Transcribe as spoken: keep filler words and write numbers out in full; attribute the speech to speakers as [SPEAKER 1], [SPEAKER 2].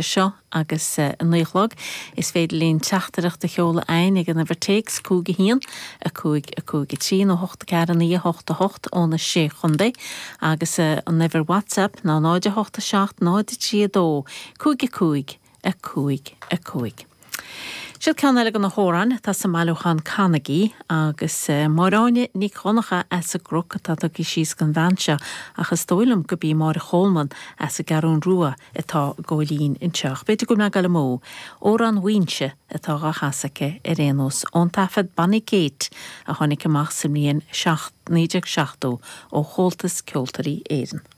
[SPEAKER 1] seo agus a naoi a chlog is féidir linn teachtaireacht a sheoladh chugainn ag an uimhir téacs cúig a haon a cúig a cúig a trí nó hocht ceathair naoi a hocht a hocht ó na sé chontae agus an uimhir WhatsApp ná náid a hocht a seacht náid a trí a dó cúig a cúig a cúig a cúig. Seo ceann eile de na hamhráin atá sa mbailiúchán Canaigí agus Máire Áine Nic Dhonncha as an gCnoc atá tugtha síos don bhean seo ach is dóigh liom gurb í Máire Cholman as an gCeathrú Rua atá góilín anseo. B'fhéidir go mbeidh mó Amhrán Mhaínse atá á chasadh aici ar aon nós ón taifead Bonnie Kate a tháinig amach sa mbliain naoi déag seachtó ó Chomhaltas Ceoltóirí Éireann.